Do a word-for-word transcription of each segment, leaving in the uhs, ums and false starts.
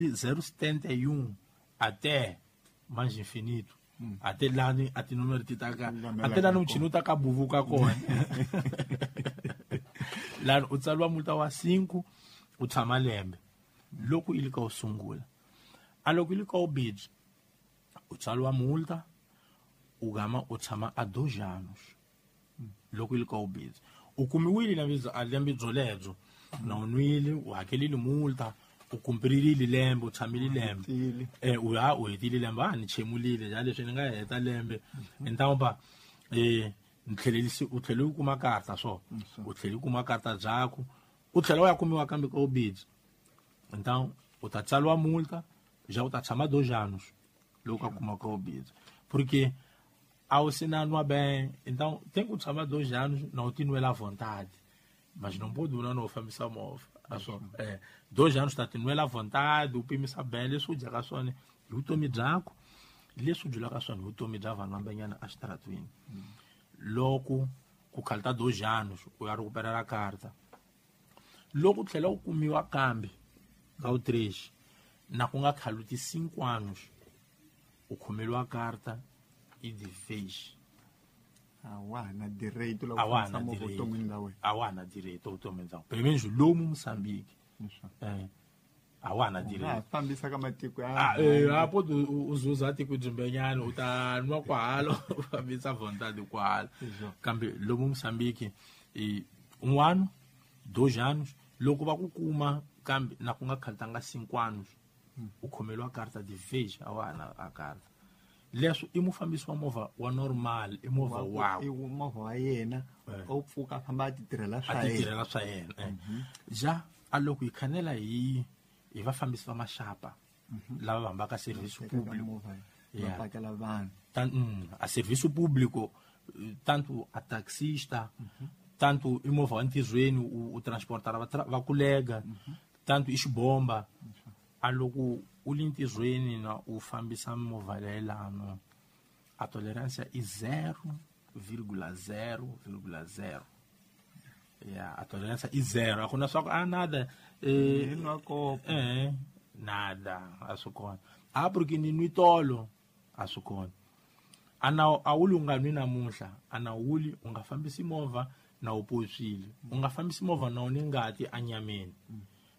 zero setenta e um até mais infinito. Hum. Até lá até número ti ta ka até lá não tinha tá ka buvuka kona. Lá u tsaliwa multa wa cinco u tshama lembe. Loko ili ka u sungula. A loko ili ka u bidzi u tsaliwa multa u gama u tshama a dois anos. Loko ili ka u bidzi. U kumiwile na bidzo a lembe byoledzo na u nwile u hakelile multa u kumpirile lembe u tshamile lembe eh u ha u hetile lembe a ni chemulile ja leswi ni nga heta lembe então ba eh ni tlhelelisi u tlhele u kuma karta so u tlhele u kuma karta dzaku u tlhela u ya kumiwa kambe ka ubidzi então u ta tsaliwa multa já u ta tshama dois anos loko a kuma ka ubidzi porque a u se na nwa bem então tem que tshama dois anos não te nwela à vontade mas não pode não fambisa movha aso eh dois anos tá tendo ela vontade o pimisa bem leswi u dyaka swona hi vutomi byakho leswi u dyulaka swona hi vutomi bya vanhu vambenyana exitaratweni loko ku khalta dois anos u ya recuperar a carta loko u tlhela u kumiwa kambe ka u três na ku nga khaluti cinco anos u khomeliwa carta e de vez a wa na direito la a na direito a wa na direito vutomi bya pelo menos lomu Moçambique eh a wa na direito fambisa ka matiko ya ah eh a pode uzuza tiko dzimbenyana u ta nwa kwalo u fambisa vontade kwalo kambe lomu Moçambique e um ano dois anos loko va ku kuma kambe na ku nga khaltanga cinco anos u khomeliwa carta de vez a wa na a carta leswi i mufambisi wa movha wa normal i movha wa i movha wa yena u pfuka famba a ti tirhela swa yena a ti tirhela swa yena ja a loko hi khanela hi hi vafambisi va maxapa lava va hambaka serviço público va pakela vanhu tan a serviço público tanto a taxista tanto i movha wa ntirhweni u transportar va kulega tanto i xibomba a loko u li ntirhweni na u fambisa movha leyilano a tolerância i zero vírgula zero vírgula zero ya a tolerância i zero a ku na swa ku a nada eh eh nada a swi kona a porque ni nwi tolo a swi kona a na a wu nga nwi namuntlha a na wuli u nga fambisi movha na u potswile u nga fambisi movha na u ni ngati anyameni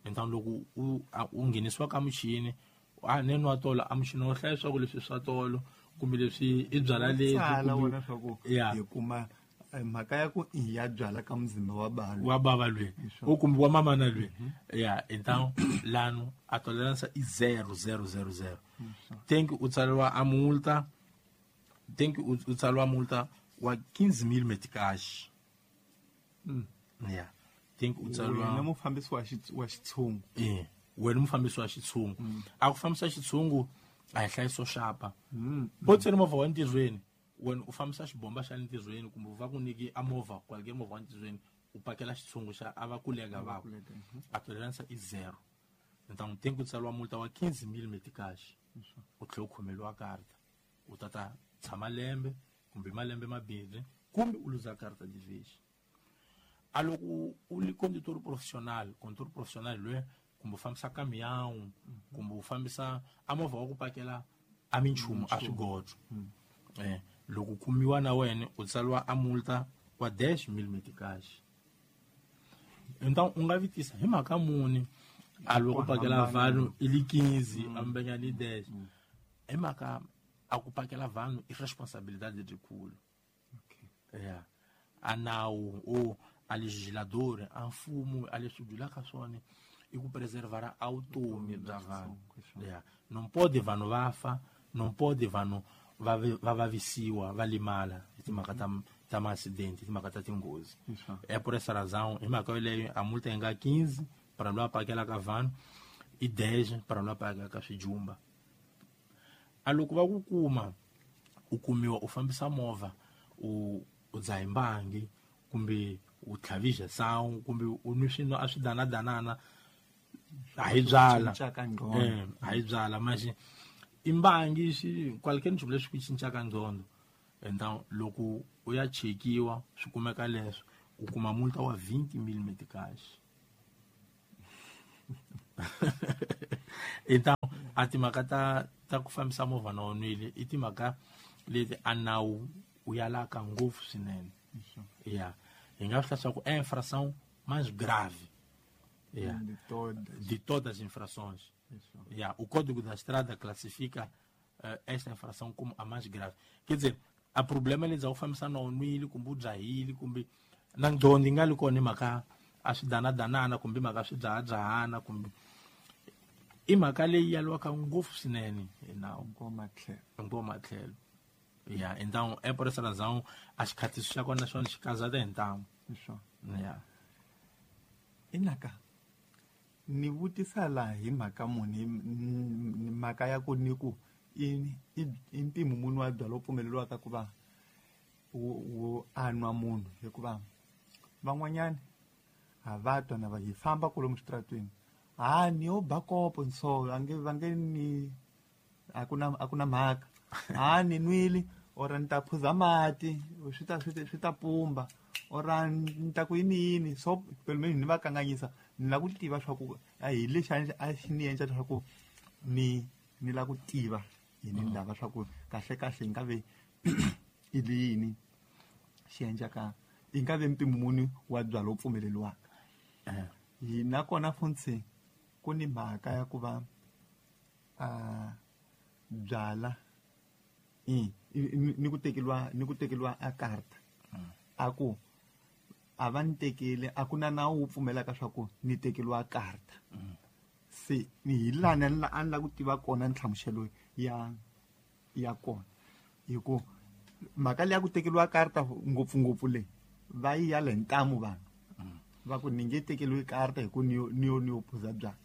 então loko u u nghenisiwa ka muchini a ne nwa tolo a muchini wo hlaya swa ku leswi swa tolo kumbe leswi i byala lebyi hi kuma mhaka ya ku i ya byala ka muzimba wa balo wa baba lwe u kumbe wa mamana lwe ya então lano a tolerância i zero zero zero zero tem que u tsariwa a multa tem que u tsariwa multa wa quinze mil meticais ya tem que utsaliwa wena mufambisi wa wa xitshungu eh wena mufambisi wa xitshungu a ku fambisa xitshungu a hi hlayiso xapa po tsena movha wa ntirhweni wena u fambisa xibomba xa ntirhweni kumbe va ku nyiki a movha kwalike movha wa ntirhweni u pakela xitshungu xa a va kulega va a tolerância i zero então tem que utsaliwa multa wa quinze mil meticais u tlhela u khomeliwa karta u tata tshama lembe kumbe malembe mambirhi kumbe u luza karta de vez a loko u li condutor profissional condutor profissional lwe kumbe u fambisa caminhão kumbe u fambisa a movha wa ku pakela a minchumu a swigodzo eh loko kumiwa na wena u tsaliwa a multa wa dez mil meticais então u nga vitisa hi mhaka muni a loko pakela vanhu i li quinze ambenyani dez hi mhaka a ku pakela vanhu i responsabilidade lebyikulu okay yeah a nawu o a legislador a mfumo a leswi dyulaka swona i ku preservar a vutomi bya vanhu yeah não pode vanhu va fa não pode vanhu va va vavisiwa va limala hi timhaka ta ta ma-accident timhaka ta tinghozi é por essa razão hi mhaka yoleyo a multa yi nga quinze para loyi a pakelaka vanhu i dez para loyi a pakelaka swijumba a loko va ku kuma u kumiwa u fambisa movha u u dzaha mbangi kumbe u tlhavisa sound kumbe u nwi swino a swi danadanana a hi byala eh a hi byala manje i mbangi xi qualquer nchumu leswi ku cincaka nqondo então loko u ya chekiwa swi kumeka leswo u kuma multa wa vinte mil meticais Então a timhaka ta ta ku fambisa movha na u nwile i timhaka leti a nawu wu yalaka ngopfu swinene. Yeah. Hi nga swi leswaku é infração mais grave. Yeah. De todas. De todas as infrações. Yeah. O Código da Estrada classifica uh, esta infração como a mais grave. Quer dizer, a problema eles ao fambisa na u nwile kumbe u dzahile kumbe na ngqondo yi nga li kona hi mhaka a swi danadanana kumbe mhaka swi dzahadzahana kumbe i mhaka leyi yaliwaka ngopfu swinene hi nawu. Hinkwawo tlhelo. Yeah, então é por essa razão as khatiso xa kona xona xi kazata hi ntamu. Yeah. Inaka ni vutisa laha hi mhaka muni mhaka ya ku ni ku i i mpimo muni wa byalwa pfumeleriwaka ku va wu anwa munhu hikuva van'wanyana a va twa na va hi famba kwalomu xitaratweni ha ni yo ba kopo nso va nge va nge ni a ku na a ku na mhaka ha ni nwile or ni ta phuza mati swi ta swi ta pumba or ni ta ku yini yini so pelo ni va kanganyisa ni lava ku tiva swa ku a hi lexi a xi ni endla leswaku ni ni lava ku tiva hi ni ndava swa ku kahle kahle yi nga ve i yini xi endlaka yi nga ve mpimo muni wa byalwa wu pfumeleriwaka. Hi nakona funtsi ku ni mhaka ya ku va a byala i ni ku tekeriwa ni ku tekeriwa a karta a ku a va ni tekele a ku na nawu wu pfumelaka swa ku ni tekeriwa karta se ni hi lani a ni lava ku tiva kona nhlamuselo ya ya kona hi ku mhaka leyi ya ku tekeriwa karta ngopfungopfu leyi va yi yala hi ntamu vanhu va ku ni nge tekeriwi karta hi ku ni yo ni yo ni yo phuza byalwa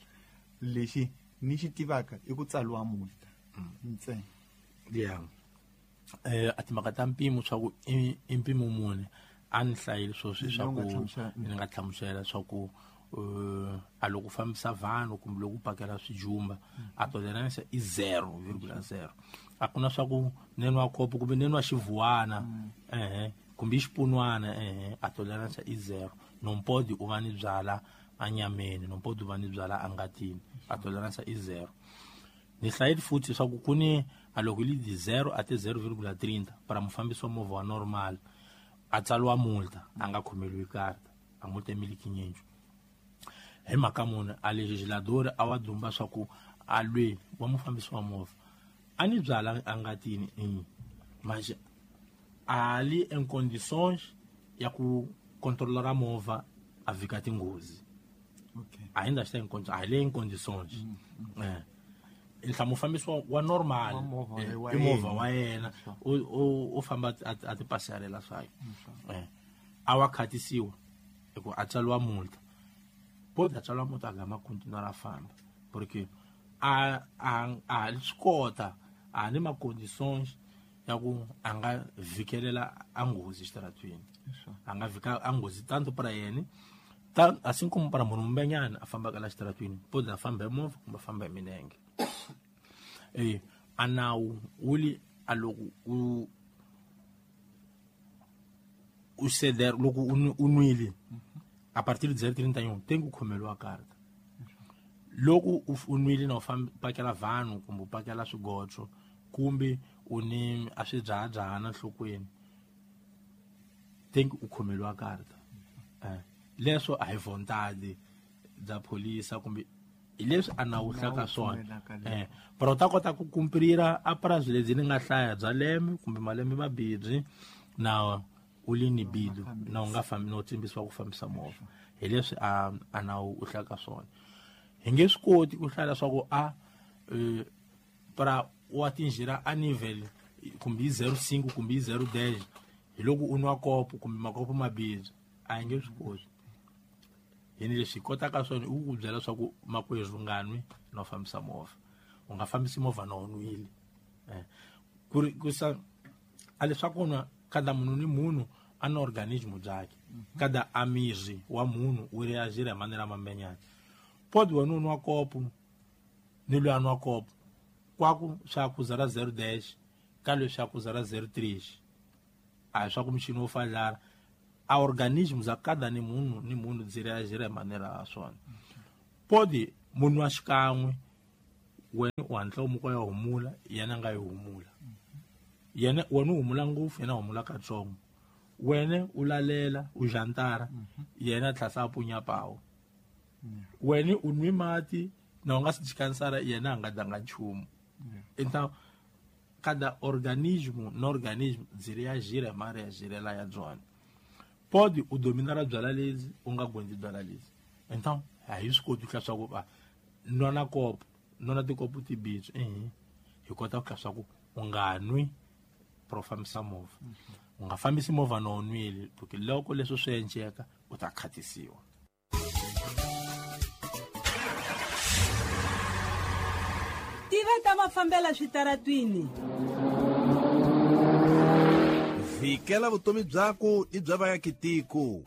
lexi ni xi tivaka i ku tsariwa multa ntsena. Yeah. Eh a timhaka ta mpimo swa ku i mpimo muni a ni hlayile sweswi swa ku ni nga hlamusela swa ku a loko fambisa vanhu kumbe loko u pakela swijumba a tolerance i zero virgula zero a ku na swa ku ni nwa kopo kumbe ni nwa xivuwana ehe kumbe xipunwana ehe a tolerance i zero. Non pode u va ni byala anyameni, non pode u va ni byala angatini, a tolerance i zero. Ni hlayile futhi swa ku ku ni a loko li di zero até zero vírgula trinta para mufambisi wa movha wa normal a tsariwa multa a nga khomeriwi karta a multa mil quinhentos. Hi mhaka muni a legislador a wa dumba swa ku a lwe wa mufambisi wa movha a ni byala angatini mas ali em condições ya ku controlar a movha a vika tinghozi. Okay. Ainda está em condições, ali em condições. É. Ntlha mufambisi wa normal i movha wa yena u u famba a ti pasarela swa eh a wa khatisiwa hi ku a tsariwa multa pode a tsariwa multa a gama continuar a famba porque a a a swi kota a ni ma condições ya ku a nga vikelela a nghozi xitaratweni a nga vika a nghozi tanto para yena ta assim como para munhu mbenyana a fambaka la xitaratweni pode a famba hi movha kumbe a famba hi milenge. Eh a nawu wu li a loko u u ceder loko u nwile a partir de zero trinta e um tem ku khomeriwa karta. Loko u nwile na u famba pakela vanhu kumbe u pakela swigotso kumbe u ni a swi dzahadzahana nhlokweni tem ku khomeriwa karta. Eh leswo a hi vontade bya pholisa kumbe hi leswi a nawu hlaka swona eh pero ta kota ku kumprira a prazo lebyi ni nga hlaya bya lembe kumbe malembe mabirhi na u li ni bidu na u nga fambi no tsimbisiwa ku fambisa movha hi leswi a a nawu u hlaka swona. Hi nge swi koti ku hlaya leswaku a para u atingirá a nível kumbe zero cinco kumbe zero dez hi loko u nwa kopo kumbe makopo mabirhi a hi nge swi koti. Hi ni leswi hi kotaka swona i ku ku byela leswaku makwerhu u nga nwi na u fambisa movha u nga fambisi movha na u nwile eh ku ri ku sa a leswaku nwa kada munhu ni munhu a na organismo byakhe kada a miri wa munhu wu reagir hi manera mambenyana pode wena u nwa kopo ni loyi a nwa kopo kwaku swa ku zara zero dez ka leswi swa ku zara zero três a hi swa ku muchini wo fadlara a organismo za cada ni munhu ni munhu byi reagir hi manera ya swona. Pode munhu wa xikan'we Wena u hatla u muka u ya humula, yena a nga yi humula. Yena wena u humula ngopfu, yena a humula katsongo. Wena u lalela, u jantara, yena a tlhela a punya pawu. Wena u nwi mati na u nga si jikansara, yena a nga danga nchumu. Então cada organismo no organismo byi reagir ma reagirela ya byona. Pode u dominar byala lezi u nga gondzi byala lezi. Então a hi swi koti ku hlaya swa ku va nwana kopo, nwana tikopo tibitsu, ehe, hi kota ku hlaya swa ku u nga nwi pro fambisa movha. U nga fambisi movha na u nwile, porque loko leswo swi endleka u ta khatisiwa. Tiva ta mafambela switaratwini. Vikela vutomi byaku ni bya vaakitiko.